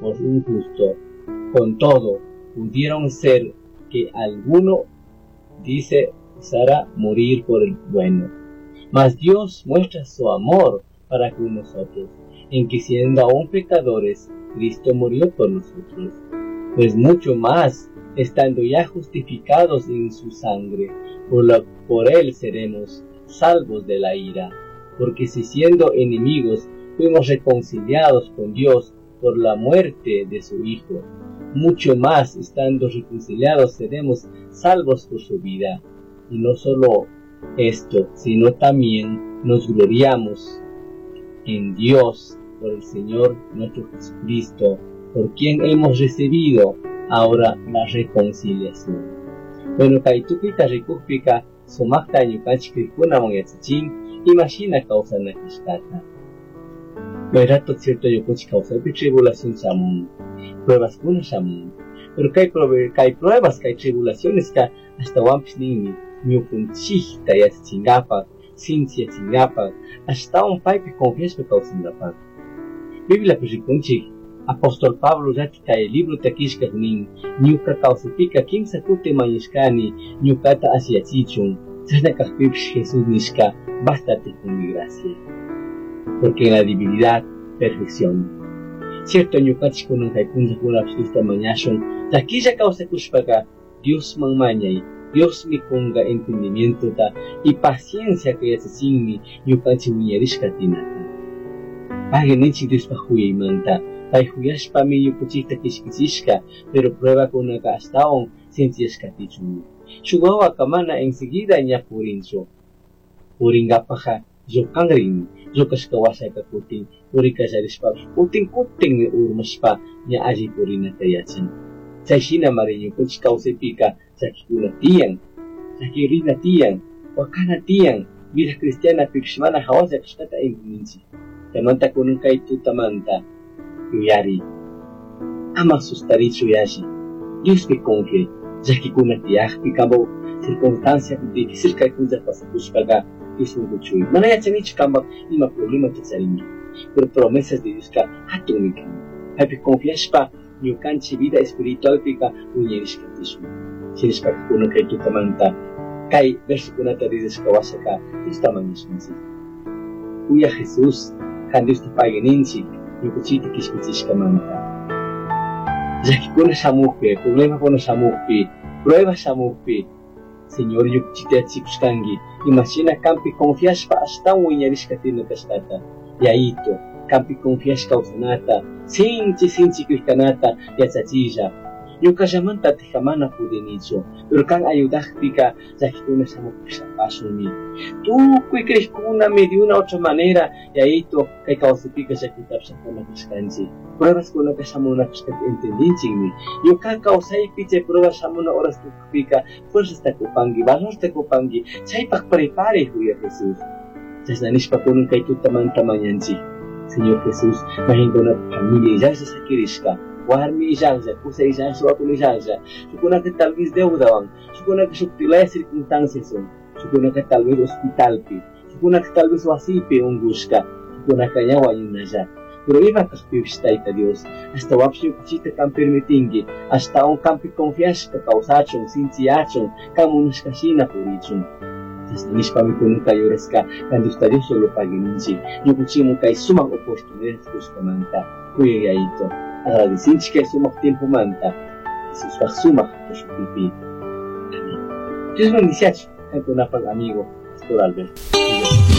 por un justo. Con todo, pudieron ser que alguno, dice, osara morir por el bueno. Mas Dios muestra su amor para con nosotros, en que siendo aún pecadores, Cristo murió por nosotros. Pues mucho más, estando ya justificados en su sangre, por él seremos salvos de la ira. Porque si siendo enemigos fuimos reconciliados con Dios por la muerte de su Hijo, mucho más, estando reconciliados, seremos salvos por su vida. Y no solo esto, sino también nos gloriamos en Dios por el Señor nuestro Jesucristo, por quien hemos recibido ahora la reconciliación. Bueno, kay tukuyta rikukpika sumakta ñukanchik krikkunaman yachachin imashina kawsana kashkata. May rato cierto ñukanchik kawsaypi tribulación shamun, pruebaskuna shamun, pero kay pruebas, kay tribulaciones ka ashtawanpish ninmi ñukanchikta yachachinkapak, sinchiyachinkapak, ashtawan paypi confiashpa kawsankapak. Bibliapi rikunchik Apóstol Pablo llati kay librota killkak nin, ñuka kawsaypika kimsa kuti mañashkani ñukata ashiyachichun, chashna kajpipish Jesús nishka, bástate con mi gracia, porque en la debilidad perfección. Cierto ñukanchik kunan kay punllakunapish Diosta mañashun, llakilla kawsakushpaka Diosman mañay, Diosmi kunga entendimientota y paciencia que yachachinmi ñukanchik wiñarishka tinata. Pagui ninchik Diospaj huyaymanta, pay huyashpami ñukanchikta kishkichishka, pero pruebakunaka ashtawan sinchiyashkatichunmi. Shuk wawaka mana enseguida ña purinchu. Purinkapaja llukanrin, llukashka washaka kutin purikallarishpapish kutin kutinmi urmashpa ña alli purinata yachan. Chay shinamari ñukanchik kawsaypika llakikuna tiyan, llakirina tiyan, wakana tiyan, vida cristianapipish mana hawalla kashkata entendinchik. Chaymanta kunan kay tutamanta yuyari, ama sustarichu yalli, Diospi confiay, llakikuna tiyakpi kanpak circunstancia difícil kay punlla pasakushpaka Diosman kuchuy. Mana yachanichu kanpak ima problemata charinki, pero promesas de Dioska hatunmi kan. Paypi confiashpa ñukanchik vida espiritualpika wiñarishkatishun. Shinashpaka kunan kay tutamanta kay versokunata ridashka washaka Diosta mañashunchik. Uya Jesús, kan Diosta pagui ninchik ñukanchikta kishpichishkamanta. Llakikuna shamukpi, problemakuna shamukpi, prueba shamukpi, Señor ñukanchikta yachikushkanki, imashina kanpi confiashpa ashtawan wiñarishka tina kashkata. Yayito, kanpi confiashka kawsanata, sinchi sinchi krikkanata yachachilla. Ñukallamanta atika mana pudinichu, pero kan ayudakpika llakikuna shamukpi apashunmi. Tukuy krikkunami de una otra manera, yayito, kay kawsaypika llakitapish apana kashkanchik. Pruebaskunaka shamuna kashkata entendinchikmi. Ñuka kawsaypi chay prueba shamuna horas tukupika fuerzasta kupanki, valorta kupanki, chaypak prepare huya Jesús. Chashna nishpa kunan kay tutamanta mañanchik. Señor Jesús, mahinkuna familia illalla sakirishka, warmi illalla, kusa illalla, wakuna illalla, shukunaka tal vez deudawan, shukunaka shuktilaya circunstancias son, shukunaka tal vez hospitalpi, shukunaka tal vez wasipi ungushka, shukunaka ña wañunalla. Pero ima kajpipish Tayta Dios, hasta wapish ñukanchikta kan permitinki, hasta un kanpi confiashpa kawsachun, sinchiyachun, kan munashka shina purichun. Chashna nishpami kunan kay horaska kan Diosta Dios solo pagui ninchik, ñukanchikman kay sumak oportunidad kushkamanta, kuyay Yayito, agradecinchik kay sumak tiempomanta, Jesuspaj sumak shutipi. Amén. Dios bendiciachu, kankunapaj amigo, Pastor Alberto.